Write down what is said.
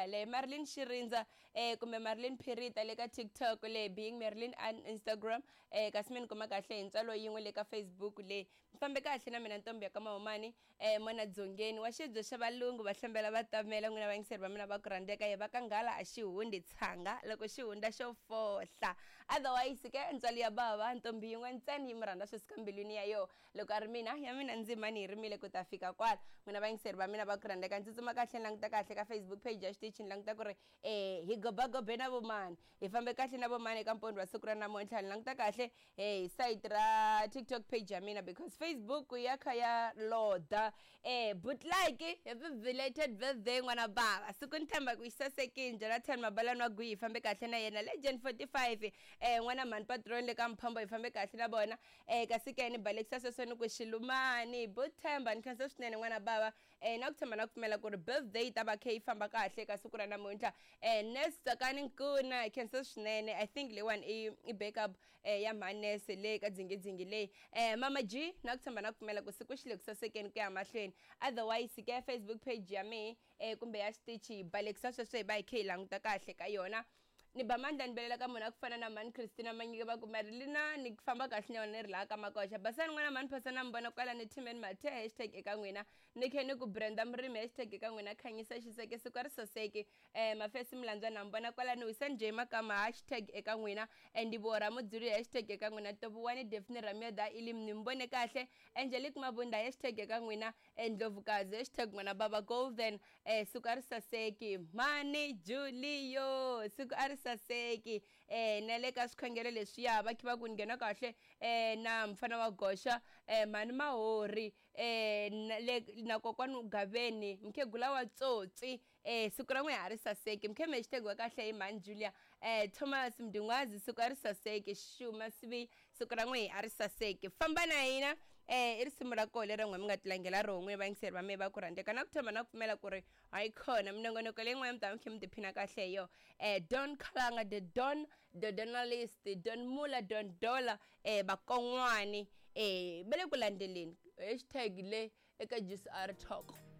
ndlela yaleyo. Marilyn Xirindza kumbe Marilyn Phirita le ka TikTok le being Marilyn on Instagram kasi mi ni kuma kahle hi ntswalo yin'we le ka Facebook le. Mi fambe kahle na mina ntombi ya ka Mahumani mona Dzongeni wa xibye xa valungu va hlambela va tamela n'wina vayingiseri va mina va ku rhandzeka ye va ka nghala a xi hundzi tshanga loko xi hundza xo fohla. Otherwise ke ntswalo ya bava ntombi yin'we ntsena yi mi rhandza swi suka mbilwini ya yoho. Loko a ri mina, ya mina ndzima ni yi rimile ku ta fika kwala. N'wina vayingiseri va mina va ku rhandzeka, ni tsutsuma kahle ni languta kahle ka Facebook page ya xitichi ni languta ku ri e hi gobagobe na vomani, hi fambe kahle na vomani eka mpondho wa siku ra namuntlha. Ni languta kahle e hi sayiti ra TikTok page ya mina because Facebook ya kha ya loda. E butlike, happy belated birthday n'wana bava. Siku ni tshemba ku xi sasekile. Jonathan Mabalani wa Gwihi hi fambe kahle na yena. Legend 45 e n'wana mhani Patron le ka Mphombo hi fambe kahle na vona. Kasi ke ni balekisa sweswo ni ku Xilumani, but Themba ni khensa swinene n'wana bava na ku tshemba na ku pfumela ku ri birthday yi ta va khe yi famba kahle ka siku ra namuntlha. Nurse Tsakani Nkuna hi khensa swinene, I think leyiwani i backup ya mhani nurse le ka dzingidzingi leyi. Mama G na ku tshemba na ku pfumela ku siku xi le ku sasekeni ku ya mahlweni. Otherwise ke Facebook page ya mehe kumbe ya xitichi hi balekisa sweswo hi va hi khe hi languta kahle ka yona. Ni ba mandla ni belela ka munhu a ku fana na mhani Christina Manyike va ku Marilina ni famba kahle na yona ni ri laha ka Makoxa. Basani n'wana mhani Phasa na mi vona kwala ni Timeni Mathe hashtag eka n'wina. Ni khe ni ku Brenda Murimi hashtag eka n'wina Khanyisa Xiseke siku a ri saseki. Mafesi Mlandzwa na mi vona kwala ni Wisani J Makama hashtag eka n'wina. Ndivhuwo Ramudzuli hashtag eka n'wina Tovuwani Daphne Ramyodha Ilim ni mi vone kahle. Angelique Mabunda hashtag eka n'wina. Ndlovukazi hashtag n'wana baba Golden siku a ri saseki. Mhani Julio siku a ri saseki. Na le ka swikhongelo leswiya va khe va ku ni nghena kahle na mfana wa goxa mhani Mahori na le na kokwani Gaveni mukhegula wa tsotsi siku ra n'wina a ri saseki. Mkheme hashtag wa kahle hi mhani Julia Thomas Mdungwazi siku a ri saseki. Xuma Sibiya siku ra n'wina a ri saseki. Famba na hina i risimu ra koho leri n'we mi nga tilangela roho n'wina vayingiseri va mehe va ku rhandzeka na ku tshemba na ku pfumela ku ri hayi khona minongonoko leyi n'wana mi ta mi khe mi tiphina kahle hi yona. Don Khalanga the Don the Donalist Don Mula Don Dollar vakon'wani va le ku landzeleni hashtag le eka GCR Talk.